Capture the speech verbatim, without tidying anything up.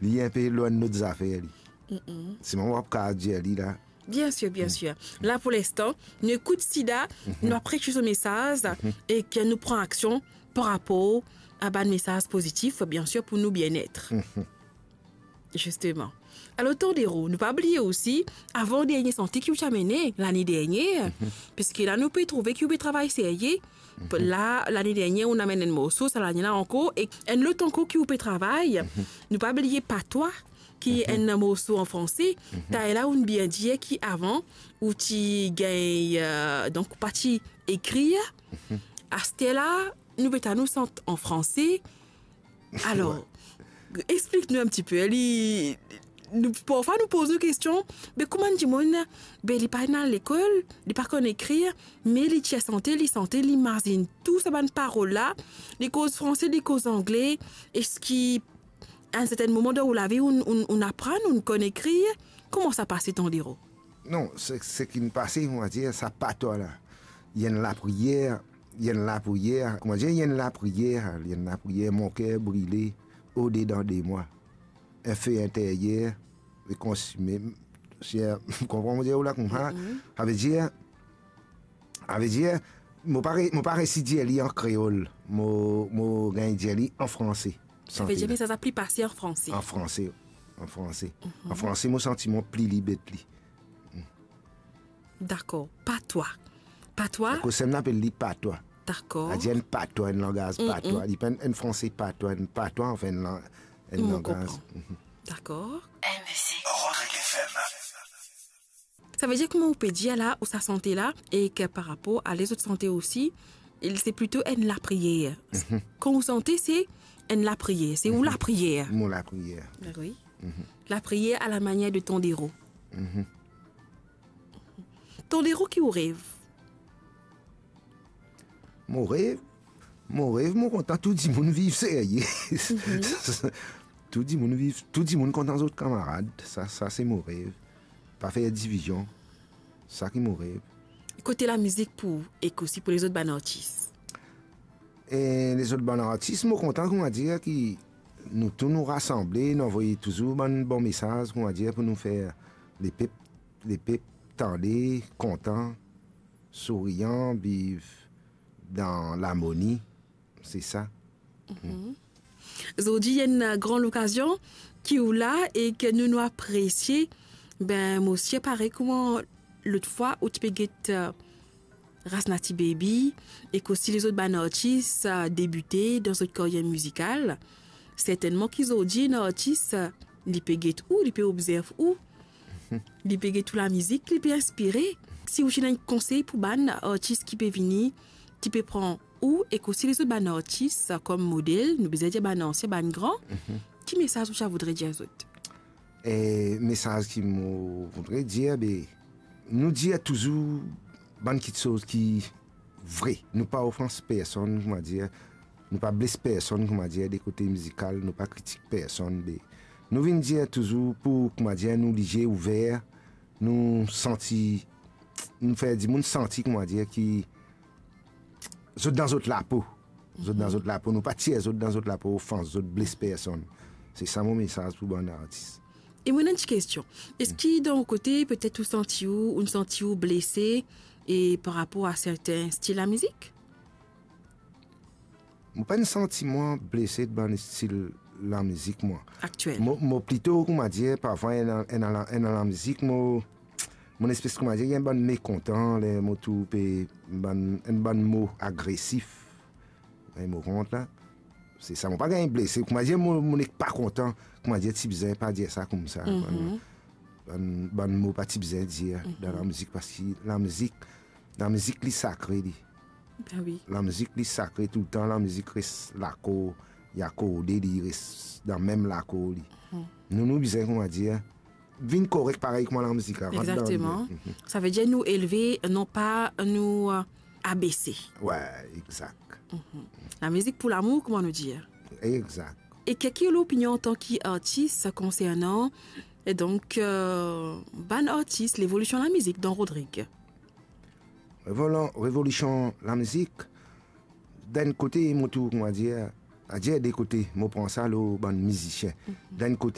Li enpe lwin lot zafer, li. Mm-mm. Sinon, mo pa kapav dir li la. Bien sir, bien sir. La, pou linstan, nou ekout Sida, nou apres so mesaz, e ke nou pran aksion par rapor a bann mesaz pozitif, bien sir, pou nou bienet. Zisteman. Alor, Tandero, nou pa bliye osi, avan dernie sante ki ou ti amene lane dernie, piski la nou pe trouve ki ou pe travay serye. La, lane dernie, ou amenn enn morso, sa lane la ankor, e enn lot ankor ki ou pe travay. Nou pa bliye Patwa, ki enn morso an franse. Taler la, ou bien dir ki avan, ou ti gagn, euh, donk, ou pa ti ekrir. Aster la, nou pe tann ou sant an franse. Alor, explik nou enn tipe. Li, nou, parfwa nou poz nou kestion, be kouma enn dimoun, be li pa ena lekol, li pa konn ekrir, me li ti sante, li sante, li mazinn tou sa bann parol la, li koz franse, li koz angle, eski a enn sertenn moman dan ou lavi, ou, ou, ou aprann, ou konn ekrir? Kouma sa pase, Tandero? Non, se, seki'nn pase, on va dire, sa patwa la. Li enn lapriyer, li enn lapriyer, kouma dir, li enn lapriyer, li enn lapriyer, mon ker brile odedan de mwa. Enn fe interyer, e konsime, si, konpran mo dir ou la koumsa? Mhm. Savedir, savedir, mo pa re-, mo pa resi dir li an kreol, mo, mo gagn dir li an franse. Savedir, me sa, sa pli pase an franse. An franse, an franse. Mhm. An franse, mo santi mwa pli lib ek li. Dakor. Patwa. Patwa? Dakor, sa nou apel li patwa. Dakor. Savedir enn patwa, enn langaz patwa. Li pa enn, enn franse patwa, enn patwa, anfin, enn lang-, enn langaz. Mo konpran. Mhm. Dakor. Rodrigue F M. Savedir, kouma ou pe dir la, ou sa sante la, e ke par rapor a lezot sante osi, se plito enn lapriyer. Mhm. Kan ou sante, se enn lapriyer, se ou lapriyer. Mo lapriyer. Wi. Mhm. Lapriyer a la manier de Tandero. Mhm. Tandero, ki ou rev? Mo rev, mo rev, mo kontan tou dimoun viv serye. Mhm. Tou dimoun viv, tou dimoun kontan zot kamarad. Sa, sa se mo rev. Pa fer divizion. Sa ki mo rev. Kote lamizik pou ou, ek osi pou lezot bann artis? E lezot bann artis, mo kontan, kouma dir, ki nou tou nou rasanble, nou avoy touzour bann bon mesaz, kouma dir, pou nou fer lepep, lepep tande, kontan, sourian, viv dan larmoni, se sa. Mhm. Zordi, enn gran lokazion ki ou la e ke nou, nou apresie. Be, mo sir parey kouma lot fwa ou ti pe get, euh, Rasnati Baby, ek osi lezot bann artis, euh, debite dan zot karyer mizikal. Sertennman ki zordi enn artis, euh, li pe get ou, li pe obzerv ou, li pe get ou lamizik, li pe inspire. Si ou ti ena enn konsey pou bann artis ki pe vini, ki pe pran ou ek osi lezot bann artis kom model, nou bizin dir bann ansien, bann gran, mhm, ki mesaz ou ti a voudre dir zot? E mesaz ki mo voudre dir, be, nou dir touzour bann kiksoz ki vre. Nou pa ofans personn, kouma dir, nou pa bles personn, kouma dir, de kote mizikal, nou pa kritik personn, be, nou vinn dir touzour pou, kouma dir, nou lizie ouver, nou santi, nou fer dimoun santi, kouma dir, ki zot dan zot lapo. Zot dan zot lapo, nou pa tir zot dan zot lapo, ofans zot, bles personn. Se sa mo mesaz pou bann artis. E mo ena enn ti kestion. Eski dan ou kote, petet ou santi ou, ou santi ou blese, e par rapor a serten stil lamizik? Mo pa'nn santi mwa blese de bann stil lamizik, mwa. Aktiel. Mo, mo plito, kouma dir, parfwa ena, ena, ena lamizik, mo, mo espes, kouma dir, enn bann mekontan, ler mo trouv pe bann, enn bann mo agresif, enn mo rant la. Se sa, mo pa gagn blese. Kouma dir, mo, mo nek pa kontan. Kouma dir, ti bizin pa dir sa koumsa. Mhm. Bann, bann, bann mo pa ti bizin dir, mhm, dan lamizik, parski lamizik, lamizik li sakre, li. Ben wi. Lamizik li sakre toultan, lamizik res lakor, li akorde, li res dan mem lakor, li. Mhm. Nou, nou bizin, kouma dir, vinn korek parey kouma lamizik la, rant dan lide. Exactement. Mhm. Savedir nou elve, non pa nou, euh, abese. Wi, exact. Mhm. Lamizik pou lamour, kouma nou dir. Exact. E ki, ki lopinion antan ki artis konsernan, e donk, euh, bann artis, levolision lamizik dan Rodrig? Revolan-, revolision lamizik, dan enn kote, mo trouv, kouma dir, a dir de kote, mo pran sa lor bann mizisien. Mhm. Dan enn kote,